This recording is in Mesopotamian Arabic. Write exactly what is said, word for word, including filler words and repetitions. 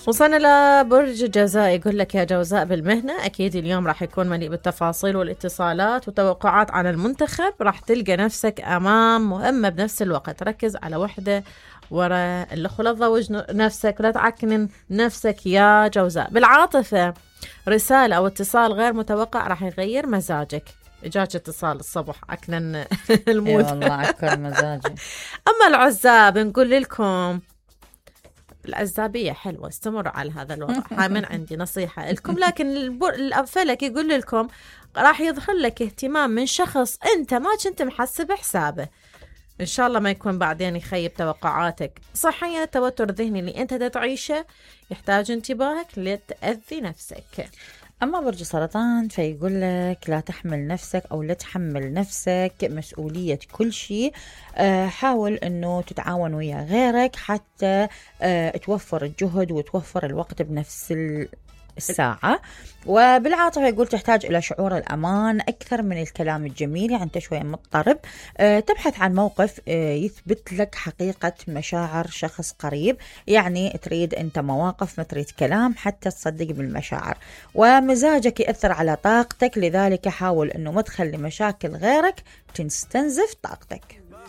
وصلنا لبرج الجوزاء، يقول لك يا جوزاء بالمهنة أكيد اليوم راح يكون مليء بالتفاصيل والاتصالات وتوقعات عن المنتخب، راح تلقى نفسك أمام مهمة بنفس الوقت. ركز على وحدة ورا الأخرى، لا تضوج نفسك ولا تعكنن نفسك يا جوزاء. بالعاطفة رسالة أو اتصال غير متوقع راح يغير مزاجك. إجاك اتصال الصبح عكنن المود. اي والله عكر مزاجي. أما العزاب نقول لكم العزابية حلوة، استمروا على هذا الوضع. هاي من عندي نصيحة لكم. لكن الفلك يقول لكم راح يظهر لك اهتمام من شخص أنت ما كنت محسب حسابه، إن شاء الله ما يكون بعدين يخيب توقعاتك. صحيا التوتر الذهني اللي أنت تعيشه يحتاج انتباهك لتأذي نفسك. أما برج السرطان فيقول لك لا تحمل نفسك أو لا تحمل نفسك مسؤولية كل شيء. أه حاول أنه تتعاون ويا غيرك حتى أه توفر الجهد وتوفر الوقت بنفس الساعة. وبالعاطفة يقول تحتاج إلى شعور الأمان أكثر من الكلام الجميل، يعني أنت شوية مضطرب. أه تبحث عن موقف أه يثبت لك حقيقة مشاعر شخص قريب، يعني تريد أنت مواقف ما تريد كلام حتى تصدق بالمشاعر. ومزاجك يأثر على طاقتك، لذلك حاول أنه ما تخلي مشاكل غيرك تستنزف طاقتك.